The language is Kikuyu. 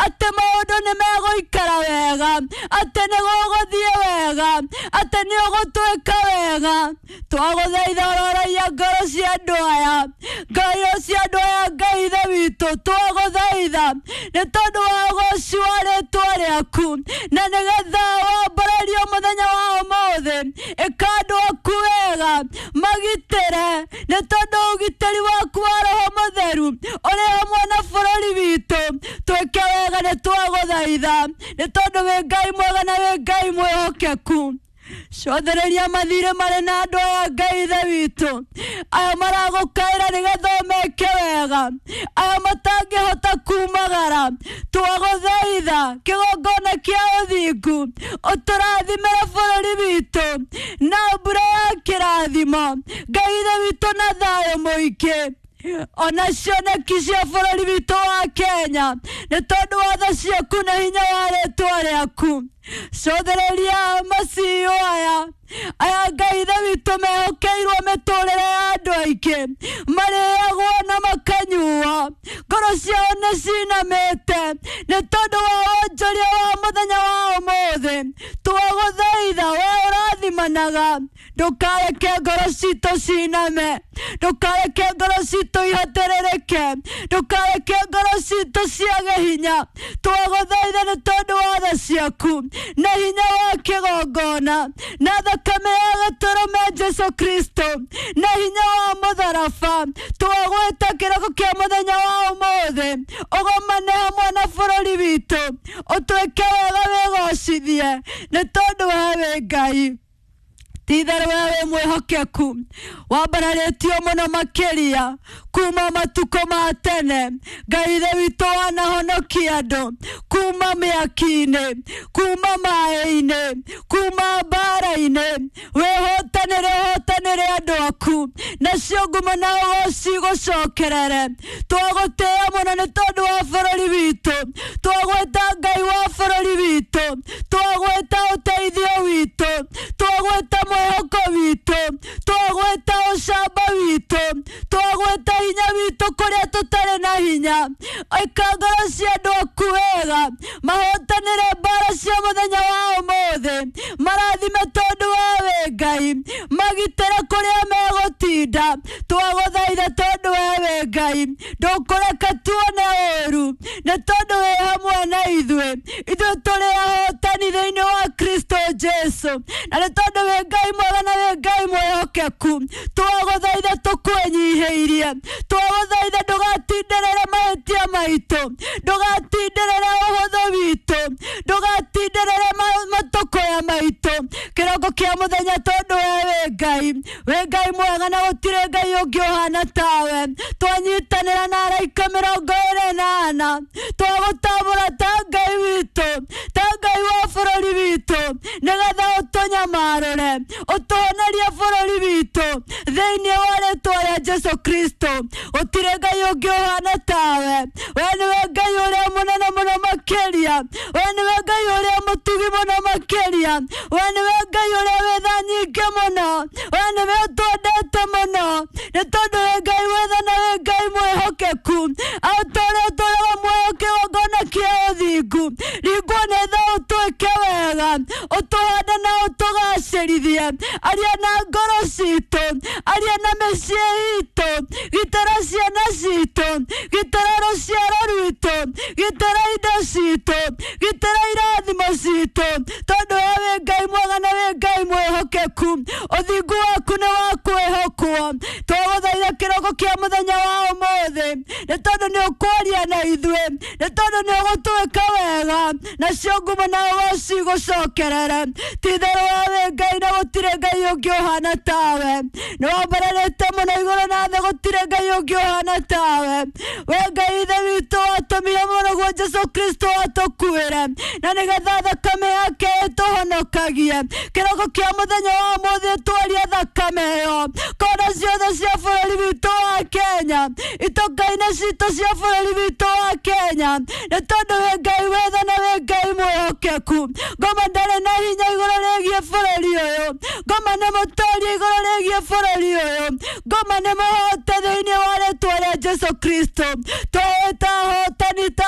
Atĩ maũndũ nĩ megũikara wega, atĩ nĩ gũgũthiĩ wega, atĩ nĩ ũgũtwĩka wega. Twagũthaitha ũroraia ngoro cia andũ aya, ngoro cia andũ aya, Ngai Ithe witũ, twagũthaitha nĩ tondũ wa ũgoci wa rĩtwa rĩaku, na nĩgetha wambarario mũthenya wa ũmũthĩ. Ĩka andũ aku wega, magitĩre, nĩ tondũ ũgitĩri waku wa Roho Mũtheru ũrĩ hamwe na bũrũri witũ. Twĩke wega, nĩ twagũthaitha, nĩ tondũ wĩ Ngai mwega na wĩ Ngai mwĩhokeku. Cothereria mathirĩ marĩ na andũ aya, Ngai Ithe witũ, aya maragũkaĩra nĩgetha ũmeke wega, aya matangĩhota kumagara. Twagũthaitha kĩgongona kĩa ũthingu, ũtũrathimĩre bũrũri witũ na mbura ya kĩrathimo, Ngai Ithe witũ, na thayũ mũingĩ, ona cioneki cia bũrũri witũ wa Kenya, nĩ tondũ wa tha ciaku na hinya wa rĩtwa rĩaku. Cothereria maciũ aya, Ngai Ithe witũ, mehokeirwo mĩtũrĩre ya andũ aingĩ, marĩagwo na makanyuo, ngoro ciao nĩ cinamĩte nĩ tondũ wa wonjoria wa mũthenya wa ũmũthĩ. Twagũthaitha, we ũrathimanaga, ndũkareke ngoro citũ ciname, ndũkareke ngoro citũ ihatĩrĩrĩke, ndũkareke ngoro citũ ciage hinya. Twagũthaitha nĩ tondũ wa tha ciaku na hinya wa kĩgongona na thakame ya gĩtũrũme Jesu Kristo na hinya wa mũtharaba. Twagwĩta kĩroko kĩa mũthenya wa ũmũthĩ, ũgomane hamwe na bũrũri witũ, ũtwĩke wega, wĩgocithie, nĩ tondũ we wĩ Ngai. Ti-itherũ we wĩ mwĩhokeku, wambararĩtio mũno makĩria kuma matukũ ma tene. Ngai Ithe witũ, wanahonokia andũ kuma mĩaki-inĩ, kuma maĩ-inĩ, kuma mbara-inĩ. Wĩhotanĩre, ũhotanĩre andũ aku, nacio ngumo na ũgoci gũcokerere. Twagũtĩĩa mũno nĩ tondũ wa bũrũri witũ. Twagwĩta Ngai wa bũrũri witũ, twagwĩta ũteithio witũ, twagwĩta mwĩhoko witũ, twagwĩta ũcamba witũ, twagwĩta hinya witũ kũrĩa tũtarĩ na hinya. Ĩka ngoro cia andũ aku wega, mahotanĩre mbara cia mũthenya wa ũmũthĩ, marathime tondũ we wĩ Ngai, magitĩre kũrĩa megũtinda. Twagũthaitha tondũ we wĩ Ngai, ndũkũreka tuone ũũru, nĩ tondũ wĩ hamwe na ithuĩ. Ithuĩ tũrĩ ahotani thĩinĩ wa Kristo Jesu, na nĩ tondũ wĩ Ngai mwega na wĩ Ngai mwĩhokeku, twagũthaitha tũkwĩnyihĩirie. Twagũthaitha ndũgatindĩrĩre mahĩtia maitũ, ndũgatindĩrĩre ũhũthũ witũ, ndũgatindĩrĩre matũkũya maitũ kĩroko kĩa mũthenya, tondũ we wĩ Ngai, wĩ Ngai mwega na gũtirĩ Ngai ũngĩ ũhana tawe. Twanyitanĩra na araika 44, twagũtambũra ta Ngai witũ, ta Ngai wa bũrũri witũ, nĩgetha ũtũnyamarũre, ũtũhonerie bũrũri witũ thĩinĩ wa rĩtwa rĩa Jesu Kristo. Gũtirĩ Ngai ũngĩ ũhana tawe. We nĩwe Ngai ũrĩa mũnene mũno makĩria, we nĩwe Ngai ũrĩa mũtugi mũno makĩria, we nĩwe Ngai ũrĩa wĩ tha nyingĩ mũno, we nĩwe ũtwendete mũno, nĩ tondũ wĩ Ngai wĩ tha na wĩ Ngai mwĩhokeku. Ũtũũre ũtũũraga muoyo kĩgongona kĩa ũthingu, ringwo nĩ tha, ũtwĩke wega, ũtũhande na ũtũgacĩrithie. Aria na ngoro citũ, aria na mĩciĩ itũ, gitĩra ciana citũ, gitĩra rũciaro rwitũ, gitĩra indo citũ, gitĩra irathimo citũ, tondũ we wĩ Ngai mwega na wĩ Ngai mwĩhokeku. Ũthingu waku nĩ wa kwĩhokwo. Twagũthaitha kĩroko kĩa mũthenya wa ũmũthĩ, nĩ tondũ nĩ ũkwaria na ithuĩ, nĩ tondũ nĩ ũgũtwĩka wega, nacio ngumo na ũgoci gũcokerere. Ti-itherũ we wĩ Ngai na gũtirĩ Ngai ũngĩ ũhana tawe. Nĩ wambararĩte mũno igũrũ na thĩ, gũtirĩ Ngai ũngĩ ũhana tawe. We Ngai Ithe witũ, watũmire mũrũguo Jesu Kristo atũkuĩre, na nĩgetha thakame yake ĩtũhonokagie. Kĩroko kĩa mũthenya wa ũmũthĩ, twaria thakame ĩyo kona ciothe cia bũrũri witũ wa Kenya, itoka-inĩ citũ cia bũrũri witũ wa Kenya, nĩ tondũ wĩ Ngai wĩ tha na wĩ Ngai mwĩhokeku. Ngoma ndarĩ na hinya igũrũ rĩgiĩ bũrũri ũyũ, ngoma nĩ mũtoria igũrũ rĩgiĩ bũrũri ũyũ, ngoma nĩ mũhote thĩinĩ wa rĩtwa rĩa Jesu Kristo. Twĩta ahotani ta